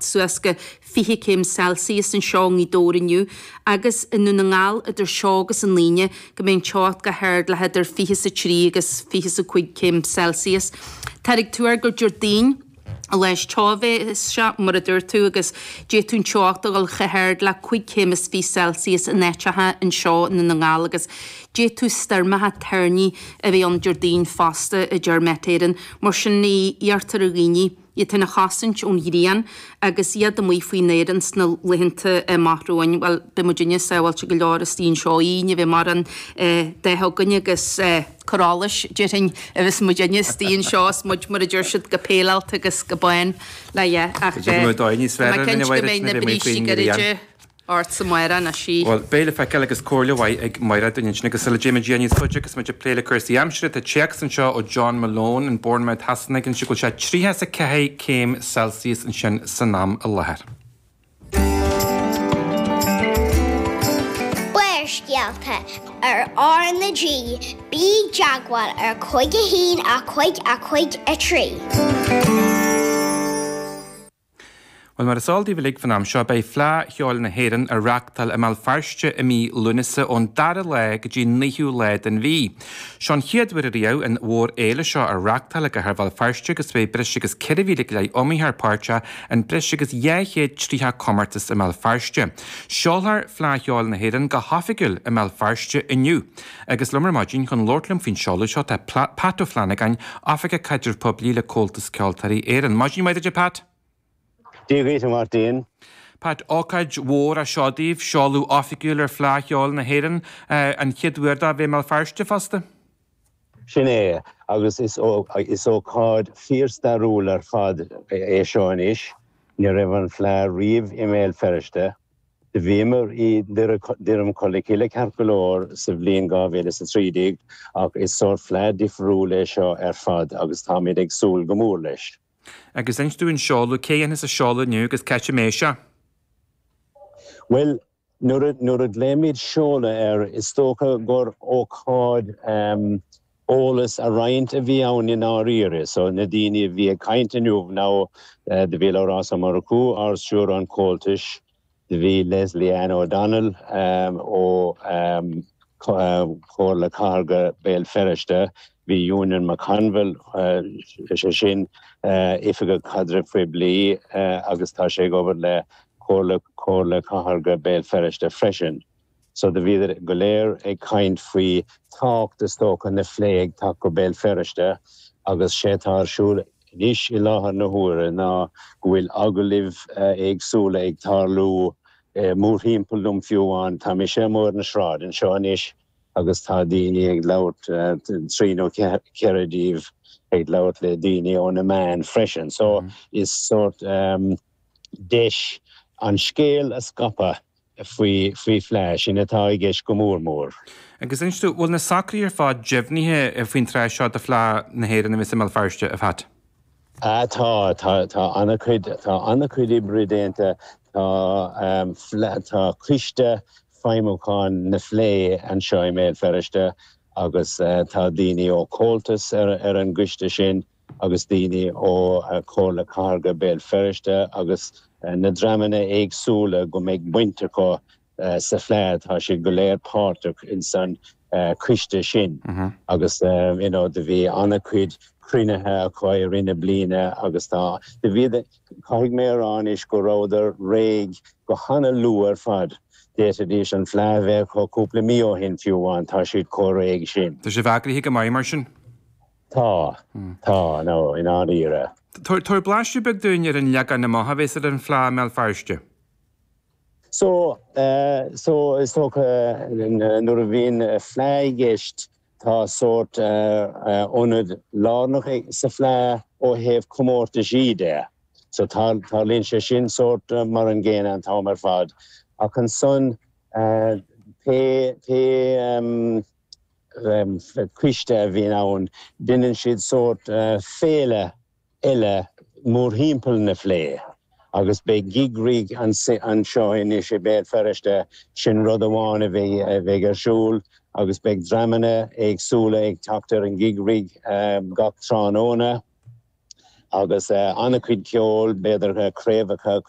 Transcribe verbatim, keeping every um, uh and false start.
suas go fiche céim Celsius anseo i nGaoth Dobhair inniu agus i nDún na nGall idir seo agus an Aoine go mbeidh an teocht go hard le hidir fiche is a trí agus fiche is a cúig céim Celsius. Táthar ag tuar gur Déardaoin an lá is teo a bheas sé mar a dúirt tú agus d'fhéadfadh an teocht a dhul chomh hard le cúig chéim is fiche Celsius in áiteacha anseo i nDún na nGall agus d'fhéadfadh stoirmeacha toirní a bheith ann Déardaoin fosta a deir Met Éireann. Mar sin iarrtar ar dhaoine iad féin a chosaint ón ghrian agus iad amuigh faoin aer ins na laethanta amach romhainn. Bhuel, beidh muidinne sábháilte go leor istigh anseo, ní bheidh mórán de againn agus cur allais, déarfainn, a bheas muidinne istigh anseo is muid, mar a deir siad, go péileáilte agus go bán le yeah, ach tá mé cinnte go mbeidh na brístí gairide ort amárach anois í. Bhuel, beidh le feiceáil agus comhairle mhaith ag Máire dúinn ansin agus sula dtéimid níos faide agus muid ag plé le cúrsaí aimsire, tá téacs anseo ó John Malone in Bournemouth Shasana ag insint go bhfuil sé tríocha is a ceathair céim Celsius ansin san am i láthair. Barrscéalta ar R na G, bí i dteagmháil ar cúig a haon a cúig a cúig a trí. Bhuel, mar is eol daoibh uilig faoin am seo, beidh Fleadh Cheoil na hÉireann á reáchtáil i mBéal Feirste i mí Lúnasa ón dara lá go dtí an naoú lá den mhí. Seo an chéad uair ariamh an mhórfhéile seo á reáchtáil i gcathair Bhéal Feirste agus beidh breis agus ceithre mhíle go leith iomaitheoir páirteach in breis agus dhá chéad tríocha comórtas i mBéal Feirste. Seolfar Fleadh Cheoil na hÉireann go hoifigiúil i mBéal Feirste inniu. Agus liom ar maidin chun labhairt liom faoin seoladh seo tá Pat Ó Flannagáin, Oifigeach Caidrimh Poiblí le Comhaltas Ceoltóirí Éireann. Maidin mhaith duit a Pat! Dia dhuit, a Mháirtín. Pat, ócáid mhór é seo daoibh, seoladh oifigiúil ar Fleadh Cheoil na hÉireann, an chéad uair dó a bheith i mBéal Feirste fosta. Sin é, agus is ócáid fíorstairiúil ar fad é seo anois. Ní raibh an Fleadh riamh i mBéal Feirste. Do bhíomar i nDroim Cholmcille ceart go leor sa bhliain dhá mhíle is a trí déag ach is sórt Fleadh difriúil é seo ar fad agus táimid ag súil go mór leis. Agus inis dúinn seoladh, cé a dhéanfas an seoladh inniu agus cá háit a mbeidh sé? Bhuel, nuair a, nuair a ghlaoimid seoladh air, is dócha gur ócáid eolas a roinnt a bhí ann i ndáiríre. So, na daoine a bhí ag caint inniu ná do bhí Labhrás Ó Murchú, Ard-Stiúrthóir an Chomhaltais, Do bhí Lesley Ann O'Donnell ó Chomhairle Cathartha Béal Feirste, bhí Eunan McConville, is é sin Oifigeach Caidrimh Phoiblí agus tá sé ag obair le Comhairle Cathartha Béal Feirste freisin. So do bhíodar go léir ag caint faoi tábhacht is dócha na Fleidhe ag teacht go Béal Feirste agus sé atá ar siúl anois i láthair na huaire ná go bhfuil agallaimh éagsúla ag tarlú mórthimpeall dom fiú amháin. Tá mise amuigh ar na sráid anseo anois agus tá daoine ag labhairt, trí nó ceithre díobh ag labhairt le daoine ó na meáin freisin. So is sórt deis an scéal a scaipeadh faoi faoi Fleadh, sin atá i gceist go mór mór. Agus inis dúinn, bhfuil na socruithe ar fad deimhnithe faoin tráth seo do Fleadh na hÉireann a bheas i mBéal Feirste, a Phat? Ah tá, tá, tá an-chuid, tá an-chuid oibre déanta, tá tá coiste feidhmiúcháin na Fleidhe anseo i mBéal Feirste agus tá daoine ó Comhaltas ar ar an gcoiste sin, agus daoine ó Chomhairle Cathartha Béal Feirste agus na dreamanna éagsúla go mbeidh baint acu sa Fleadh, tá siad go léir páirteach ins an choiste sin agus you know do bhí an-chuid cruinnithe acu i rith na bliana agus tá, do bhí, caithfidh mé a rá anois go rabhadar réidh go hana-luath ar fad, d'fhéadfaidís an Fleadh a bheith acu cúpla mí ó shin fiú amháin, tá siad chomh réidh sin. Tá sibh eagraithe go maith mar sin. Tá. Tá, no, i ndáiríre. Tabhair blaiseadh beag dúinn ar an leagan amach a bheas ar an Fleadh i mBéal Feirste. So, so, is dócha nuair a bhíonn Fleadh i gceist tá sórt ionad lárnach sa Fleadh ó thaobh comórtaisí de. So tarlaíonn sé sin sórt mar an gcéanna an t-am ar fad. Ach ansan pé, pé, coiste a bhíonn ann, deineann siad sórt féile eile mórthimpeall na Fleidhe agus beidh Gig Rig anseo anois i Béal Feirste, sin rud amháin a bheidh ar siúl agus beidh dreamanna éagsúla ag teacht ar an Gig Rig gach tráthnóna. Agus an-chuid ceoil b'fhéidir craobhacha